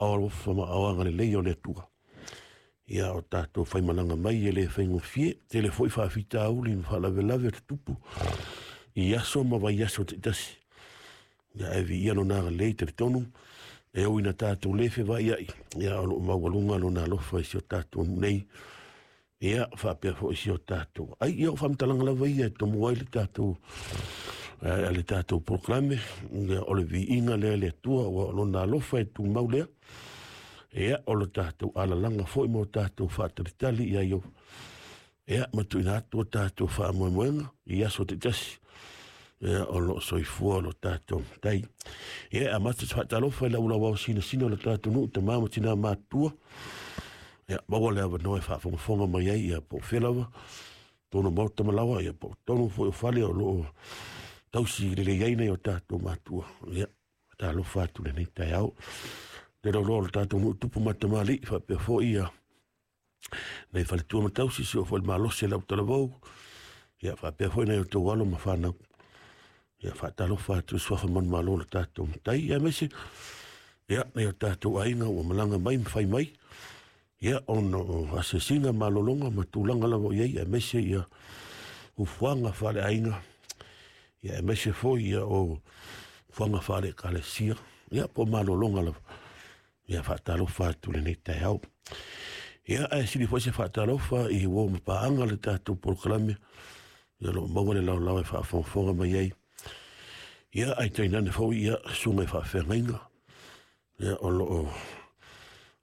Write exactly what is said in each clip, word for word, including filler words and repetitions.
Alofa ma ao agalelei o le Atua. Ia o tatou faimalaga mai e le faigofie, tele foi faafitauli ma faalavelave o tutupu i aso ma vaiaso taitasi. Ia e viia lona agalelei, talitonu e ui ina tatou le feva'ia'i, ia o lo'o maualuga lona alofa i si o tatou nuu nei, ia faapea foi si o tatou ai. Ia o faamatalaga lava ia e tomua ai le tatou a le tatou polokalame, ia o le viiga lea le Atua ua o lona alofa e tumau lea. Ia o le tatou alalaga foi ma o tatou faatalitali ia i ia ma tuuina atu o tatou faamoemoega i aso taitasi, ia o loo soifua lo tatou Matai. Ia amata se faatalofa i lau lauao sinasina o le tatou nuu, tamā ma tinā matutua, ia maua le avanoa e faafogafoga mai ai, ia po o fea lava tonu maota ma laoa, ia po o tonu foi o fale o loo tausi lelei ai nai o tatou matua. Ia talofa atu lenei taeao le lauloa o le tatou nuu, tupu ma tamalii, faapea foi ia nai faletua ma tausi, si o foi le malosi e lau talavou, ia faapea foi nai o tou alo ma fanau. Ia faatalofa atu i suafa manumalo o le tatou Matai, ia aemaise ia nai o tatou aiga ua malaga mai ma fai mai, ia ona o asiasiga malologa ma tulaga lava o i ai, aemaise ia ufuaga faaleaiga, ia aemaise foi ia o fuaga faale-ekalesia, ia po o malologa lava. Ia faatalofa atu lenei taeao. Ia ae sili foi se faatalofa i uo ma paaga le tatou polokalame, ia o loo maua le laolao e faafogafoga mai ai. Ia ae tainane foi ia susuga i faafeagaiga, ia o loo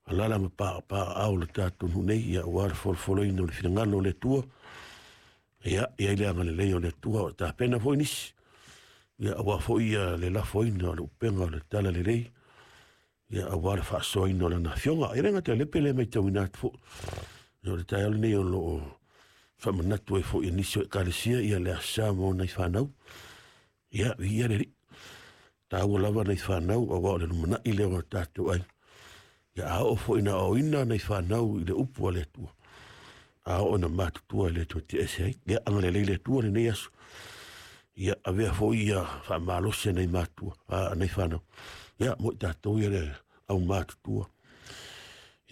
alala ma paapaaao le tatou nuu nei, ia aua le folofoloina o le finagalo o le Atua. Ia i ai le agalelei o le Atua o tapena foi nisi, ia aua foi ia le lafoina o le upega o le talalelei, ia aua le faasoaina o lana afioga. E le gata i le pele matauina atu foi, ia o le taeao lenei o loo faamanatu ai foi e nisi o ekalesia ia le Aso Sa mo nai fanau. Ia viia le Alii, taua lava nai fanau aua o le lumanai lea o tatou ai. Ia a oo foi ina aoina nai fanau i le upu a le Atua, a oo ina matutua i le Atua ese ai. Ia agalelei le Atua lenei aso, ia avea foi ia faamalosi nai matua a nai fanau, ia mo i tatou ia le au matutua,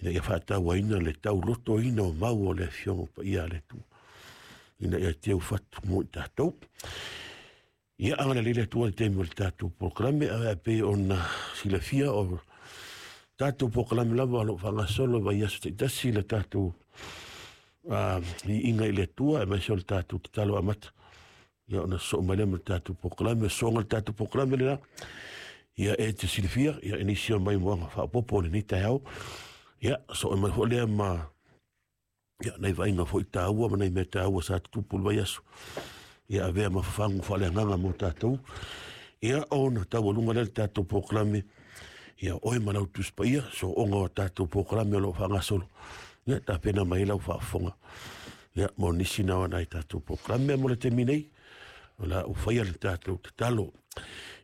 ina ia faatauaina le taulotoina o mau o le afioga paia a le Atua, ina ia teu fatu mo i tatou. Ia agalelei le Atua le taimi o le tatou polokalame, ae pei ona silafia o tatou polokalame lava o loo faagasolo vaiaso taitasi le tatou viiga i le Atua, aemaise o le tatou tatalo amata. Ia ona sosoo mai lea ma le tatou polokalame, soga le tatou polokalame lena. Ia e te silafia, ia e nisi o mai moaga faaopoopo o lenei taeao. Ia soo mai foi lea ma ia nai vaaiga foi taua ma nai mea taua sa tutupu le vaiaso. Ia avea ma fafagu faaleagaga mo tatou. Ia ona taualuga lea le tatou polokalame, ia oe ma lau Tusi Paia, sooga o tatou polokalame o loo faagasolo. Ia tapena mai lau faafofoga, ia mo nisi na o nai tatou polokalame mo le taimi nei. O la ua faia le tatou tatalo.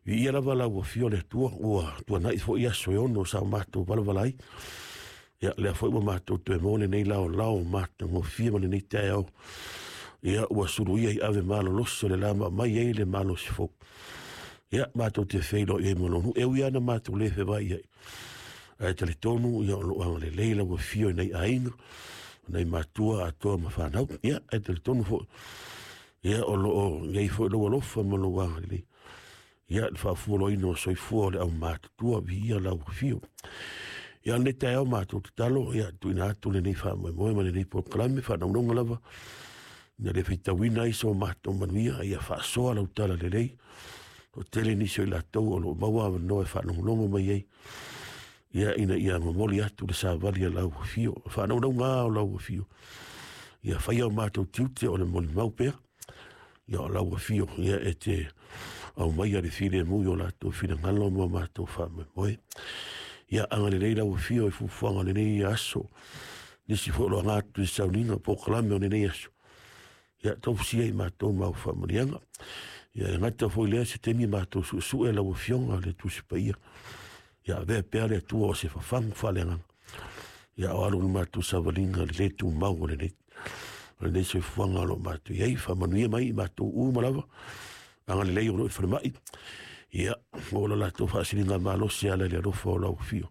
Viia lava lau afio le Atua, ua tuanai foi aso e ono sa matou valavala ai. Ia lea foi ua matou toe maua lenei laolao matagofie ma lenei taeao. Ia ua suluia i ave malolosi o le la ma mai ai le malosi fou. Ia matou te feiloai ai ma lou nuu, e ui lava na matou le feva'i ai, ae talitonu ia o loo agalelei lau afio i nai aiga, nai matua atoa ma fanau. Ia ae talitonu foi ia o loo i ai foi lou alofa ma lou agalelei, ia le faafualoina o soifua o le aumatutua. Viia lau afio. Ia lenei taeao matou tatalo, ia tuuina atu lenei faamoemoe ma lenei polokalame faanaunauna lava, ina le faitauina ai so matou manuia, ia faasoa lau talalelei. O tele nisi o i latou o loo maua avanoa e faalogologo mai ai, ia ina ia momoli atu le savali a lau afio, faanaunauga o lau afio. Ia faia o matou tiute o le molimau pea, ia o lau afio, ia e te aumaia le filemu i o latou finagalo ma matou faamoemoe. Ia agalelei lau afio i fuafuaga o lenei aso, nisi foi o lo aga atu i sauniga polokalame o lenei aso. Ia taufusia i matou mau faamanuiaga. Ia e gata foi lea se taimi matou suesue lau afioga le Tusi Paia. Ia avea pea le Atua o se fafagu faaleagaga, ia o alu le matou savaliga le le tumau o lenei o lenei soifuaga o loo matou i ai. Faamanuia mai i matou uma lava, agalelei o loo i falemai, ia mo lo latou faasiliga malosi ala i le alofa o lau afio.